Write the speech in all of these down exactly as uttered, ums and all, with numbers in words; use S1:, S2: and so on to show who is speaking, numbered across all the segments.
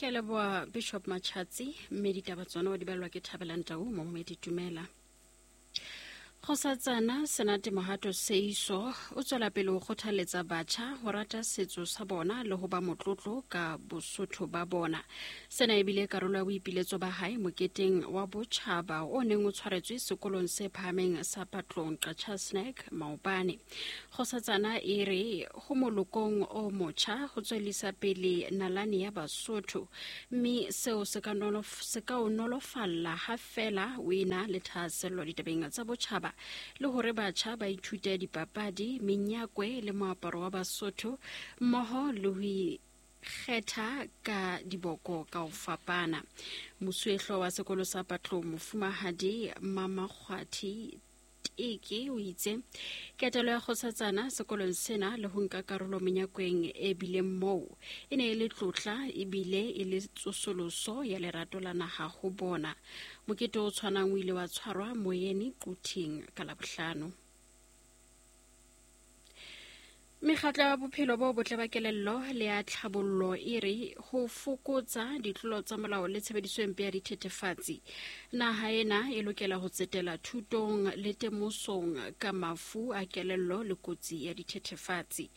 S1: Ke a leboha Bishop Machatsi, mme ditaba tsona o di balwa ke Thabelang Tau mo Momedi Tumela. Kgosatsana Senate Mohato Seiso o tswela pele ho kgothaletsa batjha ho rata setso sa bona le ho ba motlotlo ka bosotho ba bona. Sena e bile karolo ya boipiletso ba hae moketeng wa botjhaba o neng o tshwaretswe sekolong se phahameng sa Patlong Qacha Snack maobane. Kgosatsana e re ho molokong o motjha ho tswellisa pele nalane ya Basotho, mme seo se ka nolof-, se ka o nolofalla ha feela o ena le thahasello ditabeng tsa botjhaba, le hore batjha ba ithute dipapadi, menyakwe le moaparo wa Basotho mmoho le ho ikgetha ka diboko ka ho fapana. Mosuwehlooho wa sekolo sa Patlong Mofumahadi Mamakgwathi Teke o itse ketelo ya kgosatsana sekolong sena le ho nka karolo menyakweng e bileng moo e ne e le tlotla ebile e le tsosoloso ya lerato la naha ho bona. Mokete o tshwanang o ile wa tshwarwa Moyeni Quthing ka Labohlano. Mekgatlo ya bophelo bo botle ba kelello le ya tlhabollo e re ho fokotsa ditlolo tsa molao le tshebediso e mpe ya dithethefatsi. Naha ena e lokela ho tsetela thutong le temosong ka mafu a kelello le kotsi ya dithethefatsi.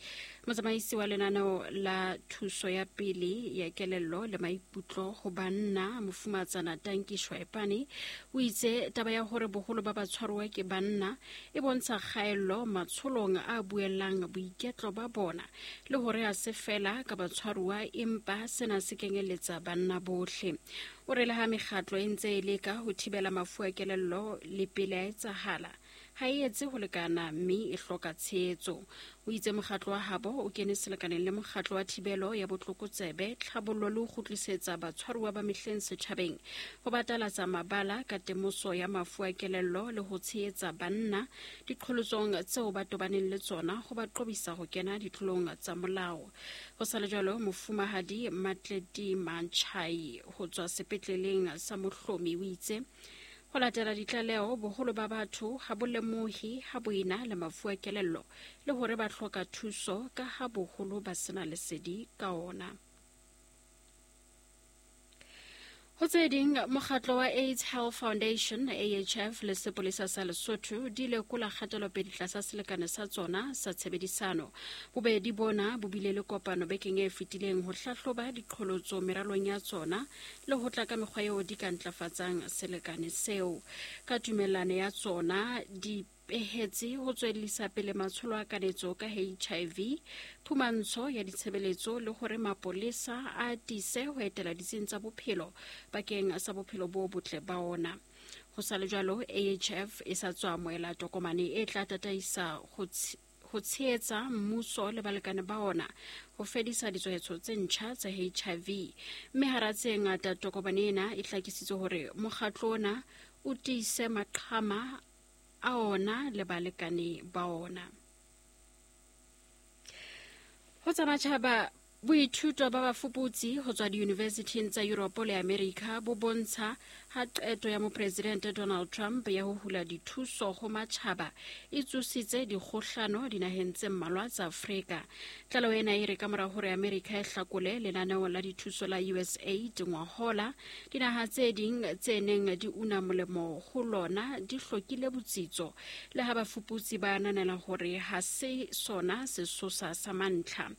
S1: Motsamaisi wa lenaneo la thuso ya pele ya kelello le maikutlo ho banna Mofumatsana Tanki Shwaepane o itse taba ya hore boholo ba batshwaruwa ke banna e bontsha kgaello matsholong a buellang boiketlo ba bona le hore ha se fela ka batshwaruwa empa sena se kenyeletsa banna bohle. O re le ha mekgatlo e ntse e leka ho thibela mafu a kelello le pele a etsahala, ha e etse ho lekana mme e hloka tshehetso. O itse mokgatlo wa habo o kene selekaneng le mokgatlo wa thibelo ya botlokotsebe, tlhabollo le ho kgutlisetsa batshwaruwa ba mehleng setjhabeng, ho batalatsa mabala ka temoso ya mafu a kelello le ho tshehetsa banna diqholotsong tseo ba tobaneng le tsona ho ba qobisa ho kena ditlolong tsa molao. Ho sa le jwalo, Mofumahadi Matleti Mantshai ho tswa sepetleleng sa Mohlomi o itse ho latela ditlaleho boholo ba batho ha bo lemohe ha bo ena le mafu a kelello le hore ba hloka thuso ka ha boholo ba sena lesedi ka ona. Ho tse ding, mokgatlo wa AIDS Health Foundation A H F le sepolesa sa Lesotho di lekola kgatelopele tlasa selekane sa tsona sa tshebedisano. Bobedi bona bo bile le kopano bekeng e fetileng ho hlahloba diqholotso meralong ya tsona le ho tla ka mekgwa eo di ka ntlafatsang selekane seo. Ka tumellano ya tsona di pehetse ho tswellisa pele matsholo a kanetso ka H I V, phumantsho ya ditshebeletso le hore mapolesa a atise ho etela ditsing tsa bophelo bakeng sa bophelo bo botle ba ona. Ho sa le jwalo, A H F e sa tswa amohela tokomane e tla tataisa ho ho tshehetsa mmuso le balekane ba ona ho fedisa ditshwaetso tse ntjha tsa H I V. Mme hara tse ngata tokomane ena e hlakisitse hore mokgatlo ona o tiise maqhama a ona le balekane ba ona. Ho tsa matjhaba, boithuto ba bafuputsi ho tswa diyunivesithing tsa Europe le America bo bontsha ha qeto ya mopresidente Donald Trump ya ho hula dithuso ho matjhaba e tsositse dikgohlano dinaheng tse mmalwa tsa Afrika. Tlaleho ena e re ka mora hore Amerika e hlakole lenaneo la dithuso la U S A I D ngwahola, dinaha tse ding tse neng di una molemo ho lona di hlokile botsitso, le ha bafuputsi ba ananela hore ha se sona sesosa sa mantlha.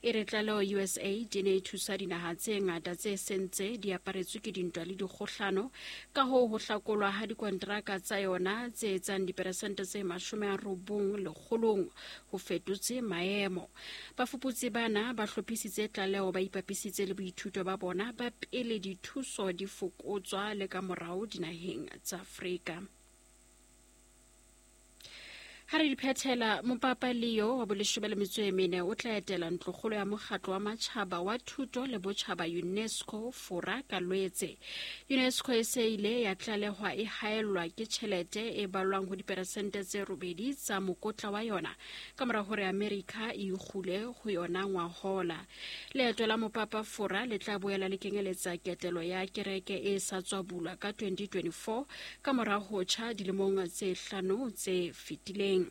S1: E re tlaleho U S A I D e ne e thusa dinaha tse ngata tse sentse di aparetswe ke dintwa le dikgohlano, ka hoo ho hlakolwa ha dikonteraka tsa yona tse etsang diperesente tse mashome a robong lekgolong ho fetotse maemo. Bafuputsi bana ba hlophisitse tlaleho ba ipapisitse le boithuto ba bona ba pele dithuso di fokotswa le ka morao dinaheng tsa Afrika. Ha re di phethela, Mopapa Leo wa boleshome le metso e mene o tla etela ntlokgolo ya mokgatlo wa matjhaba wa thuto le botjhaba UNESCO Fora ka Lwetse. UNESCO e se ile ya tlalehwa e haellwa ke tjhelete e balwang ho diperesente tse robedi tsa mokotla wa yona ka mora hore Amerika e ikgule ho yona ngwahola. Leeto la Mopapa Fora le tla boela le kenyeletsa ketelo ya kereke e sa tswa bulwa ka twenty twenty-four ka mora ho tjha dilemong tse hlano tse fetileng. supileng.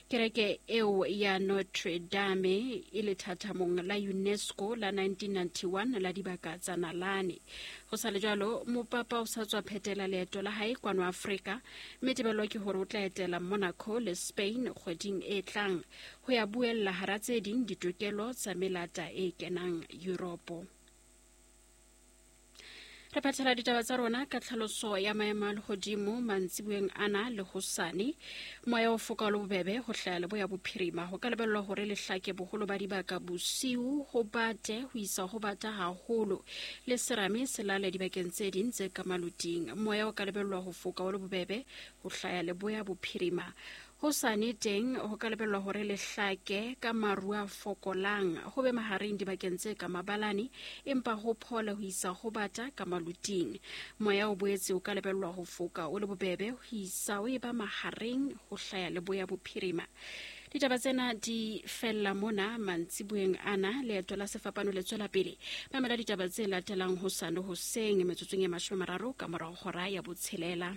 S1: Kereke eo ya Notre Dame e lethathamong la UNESCO la nineteen ninety-one la dibaka tsa nalane. Ho sa le jwalo, mopapa o sa tswa phetela leeto la hae kwano Afrika, mme tebello ke hore o tla etela Monaco le Spain kgweding e tlang ho ya buella hara tse ding ditokelo tsa melata e kenang Europe. Re phethela ditaba tsa rona ka tlhaloso ya maemo a lehodimo mantsiboeng ana le hosane. Moya o foka o le bobebe ho hlaya leboya bophirima. Ho ka lebellwa hore lehlake boholo ba dibaka bosiu ho bate ho isa ho bata haholo le serame se lale dibakeng tse ding tse ka maluting. Moya o ka lebellwa ho foka o le bobebe ho hlaya leboya bophirima. Hosane teng ho ka lebellwa hore lehlake ka maru a fokolang ho be mahareng dibakeng tse ka mabalane, empa ho phole ho isa ho bata ka maluting. Moya o boetse o ka lebellwa ho foka o le bobebe ho isa o eba mahareng ho hlaya leboya bophirima. Ditaba tsena di fella mona mantsiboeng ana. Leeto la sefapano le tswela pele. Mamela ditaba tse latelang hosane hoseng metsotsong e mashome a mararo ka morao hora ya botshelela.